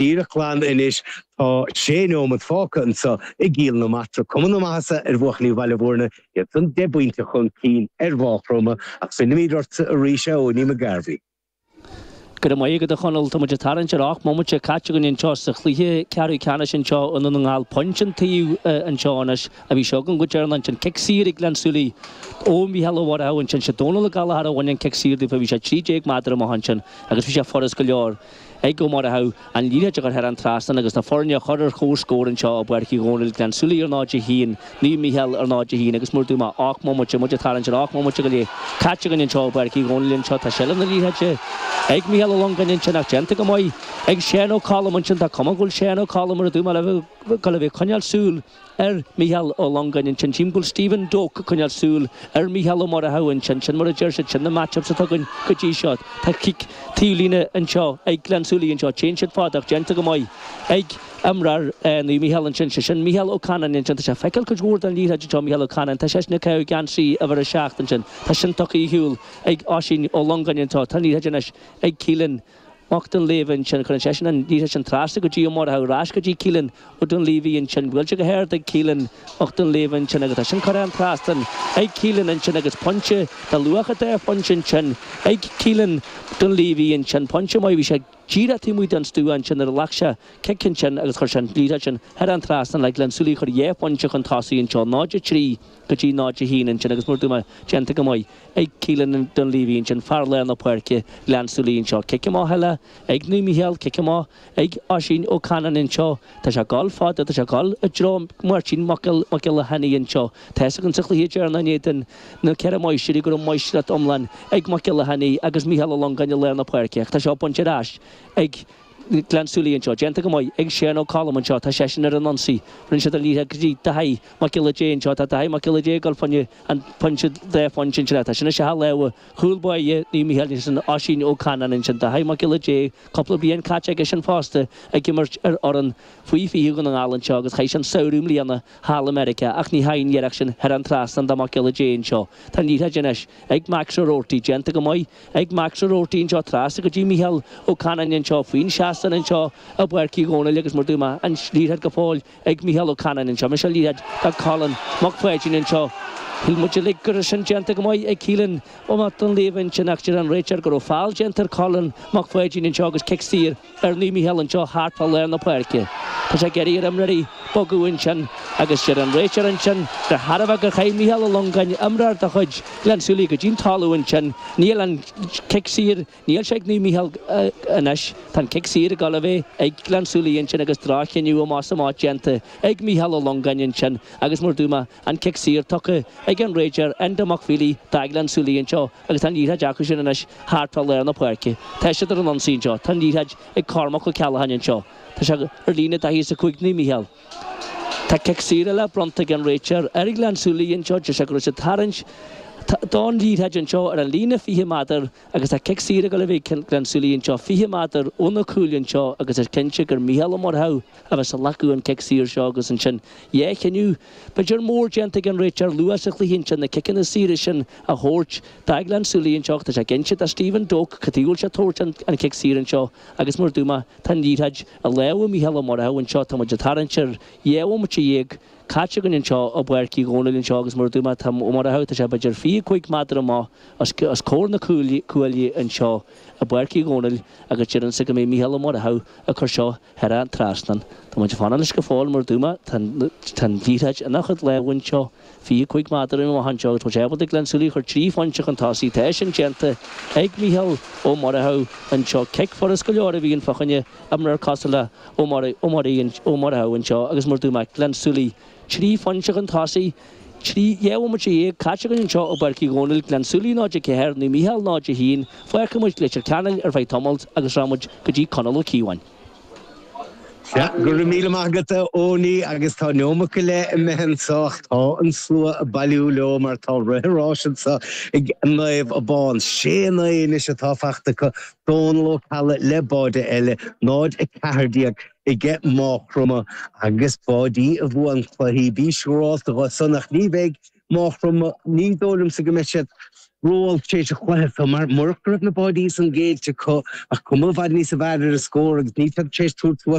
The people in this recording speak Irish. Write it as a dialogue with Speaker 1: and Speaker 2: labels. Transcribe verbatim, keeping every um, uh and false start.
Speaker 1: Díreach glan anois tá sé nóiméad fágtha anseo i gCill na Martra cuma na maitheasa ar bhuachaillí Bhaile Bhúirne iad san deich bpointe chun cinn ar Mhaigh Chromtha ach fillfimid ort arís a Owenie McGarvey.
Speaker 2: Go raibh maith agat a Chonaill tá muid ag tarraingt ar ocht mbomaite caite againn anseo sa chluiche ceathrú ceannais anseo i nDún na nGall pointe an taobh anseo anois a bhí seo againn go deireanach ansin cic saor ag Gleann tSúilí ó Mhícheál Ó Murchú ansin sé Dónal Ó Gallchóir a bhain an cic saor daofa bhí sé trí déag méadar amach ansin agus bhí sé furast go leor ag Ó Murchú an liathróid a chur thar an trasnán agus na foirne a chur ar comhscór anseo i bPáirc Uí Dhónaill, Gleann tSúilí ar náid a haon, Naomh Mícheál ar náid a haon agus mar a dúirt mé ocht mbomaite, muid ag tarraingt ar ocht mbomaite go leith caite againn anseo i bPáirc Uí Dhónaill anseo. Tá seilbh na liathróide ag Mícheál Ó Longáin ansin ach déanta go maith ag Seán Ó Colm ansin. Tá cuma go bhfuil Seán Ó Colm mar a dúirt mé le bheith ag coinneáil súil ar Mhícheál Ó Longáin ansin. Tchím go bhfuil Stephen Doak ag coinneáil súil ar Mhícheál Ó Murchú ansin. Sin mar a deir siad, sin na match-ups atá againn go dtí seo. Tá cic taobhlíne anseo ag Gleann tSúilí anseo. Téann siad fada ach déanta go maith ag imreoir Naomh Mícheál ansin. Sé sin Mícheál Ó Canainn ansin. Tá sé ag feiceáil cuid mhór den liathróid anseo, Mícheál Ó Canainn. Tá seisean ag caitheamh geansaí uimhir a seacht ansin. Tá sin tugtha ar shiúl ag Oisín Ó Longáin anseo. Tá an liathróid anois ag Keelan. Mac Duinnshléibhe ansin, cuireann seisean an liathróid sin trasna go dtí Ó Murchú, ar ais go dtí Keelan Ó Duinnshléibhe ansin, buailte go hard ag Keelan Mac Duinnshléibhe ansin agus tá sin curtha an trasnán ag Keelan ansin agus pointe de luach an dá phointe ansin ag Keelan Duinnshléibhe ansin, pointe maith, bhí sé díreach taobh amuigh den stua ansin nuair a ghlac sé cic ansin agus chuir sé an liathróid sin thar an trasnán le Gleann tSúilí a chur dhá phointe chun tosaigh anseo, náid a trí go dtí náid a haon ansin agus mar a dúirt mé, déanta go maith. Ag Keelan Dunleavy ansin, fear lár na páirce, Ghleann tSúilí anseo. Cic amach eile ag Naomh Mícheál, cic amach ag Oisín Ó Canainn anseo. Tá sé ag dul fada, tá sé ag dul i dtreo Máirtín Mac Giolla Chainnigh anseo. Tá fhios againn sa chluiche deireanach in éadan na Ceithre Máistrí go raibh máistreacht iomlán ag Mac Giolla Chainnigh agus Mícheál Ó Longáin i lár na páirce ach tá seo bainte ar ais ag Gleann tSúilí anseo. Déanta go maith ag Seán Ó Colm anseo. Tá seisean ar an ionsaí. Rinne siad an liathróid go dtí Daithí Mac Giolla Dé anseo. Tá Daithí Mac Giolla Dé ag dul fá choinne an pointe dhá phointe ansin. Tá sin isteach i lámha chúl báire Naomh Mícheál ansin Oisín Ó Canainn ansin. Daithí Mac Giolla Dé, cúpla bliain caite aige sin fosta ag imirt ar fhoireann faoi fiche Dhún na nGall anseo agus chaith sé an samhradh i mbliana thall i Meiriceá ach ní theachaidh an iarracht sin thar an trasnán do Mac Giolla Dé anseo. Tá an liathróid anois ag Max O'Rourty. Déanta go maith ag Max O'Rourty anseo trasna go dtí Mícheál Ó Canainn anseo faoin seastán anseo i bPáirc Uí Dhónaill agus mar a dúirt mé an liathróid go fóill ag Mícheál Ó Canainn anseo. Anois an liathróid do Colin Mac Pháidín anseo. Shíl muid uilig go raibh sin déanta go maith ag Keelan Ó Mac Duinnshléibhe ansin ach deir an réiteoir go raibh feall déanta ar Colin Mac Pháidín anseo agus cic saor ar Naomh Mícheál anseo thart fá lár na páirce. Tá sé ag iarraidh ar imreoirí bogadh ansin agus deir an réiteoir ansin de thairbhe gur chaith Mícheál Ó Longáin, imreoir de chuid Ghleann tSúilí, go dtí'n talamh ansin. Níl an cic saor, níl sé ag Naomh Mícheál anois. Tá an cic saor ag dul a bheith ag Gleann tSúilí ansin agus droch-chinneadh amach is amach déanta ag Mícheál Ó Longáin ansin agus mar a dúirt mé, an cic saor tugtha ag an réiteoir Enda Mac Feely do Ghleann tSúilí anseo agus tá an liathróid acu sin anois thart fá lár na páirce. Tá siad ar an ionsaí anseo. Tá an liathróid ag Cormac Ó Ceallacháin anseo. Tá sé ar líne daichead is a cúig Naomh Mícheál. Tá cic saor eile bronnta ag an réiteoir ar Ghleann tSúilí anseo. Deir sé go raibh siad ag tarraingt don liathróid anseo ar an líne fiche méadar agus tá cic saor ag dul a bheith ag Gleann tSúilí anseo fiche méadar ó na cúil anseo agus is cinnte gur Mícheál Ó Murchú a bheas ag glacadh an cic saor seo agus ansin dhá chinneadh b'fhéidir mór déanta ag an réiteoir luath sa chluiche ansin na ciceanna saora sin a thabhairt do Ghleann tSúilí anseo ach tá sé ag inse do Stephen Doak cad chuige a bhfuil sé ag tabhairt an cic saor anseo agus mar a dúirt mé tá an liathróid i lámha Mícheál Ó Murchú anseo tá muid ag tarraingt ar dhá bhomaite dhéag caite againn anseo i bPáirc Uí Dhónaill anseo agus mar a dúirt mé tá Ó Murchú tá sé b'fhéidir fiche cúig méadar amach os comhair na cuaille anseo i bPáirc Uí Dhónaill agus deirimse go mbeidh Mícheál Ó Murchú ag cur seo thar an trasnán. Tá muid ag fanacht leis go fóill mar a dúirt mé tá an liathróid ina chuid lámha anseo fiche cúig méadar amach anseo agus tá sé ábalta Gleann tSúilí a chur trí phointe chun tosaigh. Tá sin déanta ag Mícheál Ó Murchú anseo. Cic furast go leor a bhíonn fá choinne imreoir cosúil le Ó Murchú anseo agus mar a dúirt mé Gleann tSúilí trí phointe chun tosaigh, trí dhá bhomaite dhéag caite againn anseo i bPáirc Uí Dhónaill, Gleann tSúilí náid a ceathair, Naomh Mícheál náid a haon. Fágfaidh muid Leitir Ceanainn ar feadh tamaill agus rachaidh muid go dtí Conall Ó Cíobháin.
Speaker 1: Sea, go raibh míle maith agat a Owenie agus tá neomat go leith imithe anseo ach tá an slua ag bailiú leo mar tá rith an ráis anseo ag Naomh Abán. Sé naoi anois atá faighte acu, Dónal Ó Ceallaigh le báide eile, náid a ceathair déag aige Maigh Chromtha agus báidí a bhuann cluichí. Bí siúrálta dhó san ach ní bheidh Maigh Chromtha, ní dóigh liomsa go mbeidh siad Róolc tar éis an chluiche so mar murach go raibh na báidí san géillte acu ach cuma i bhfad níos fearr ar an scór agus ní tar éis tabhairt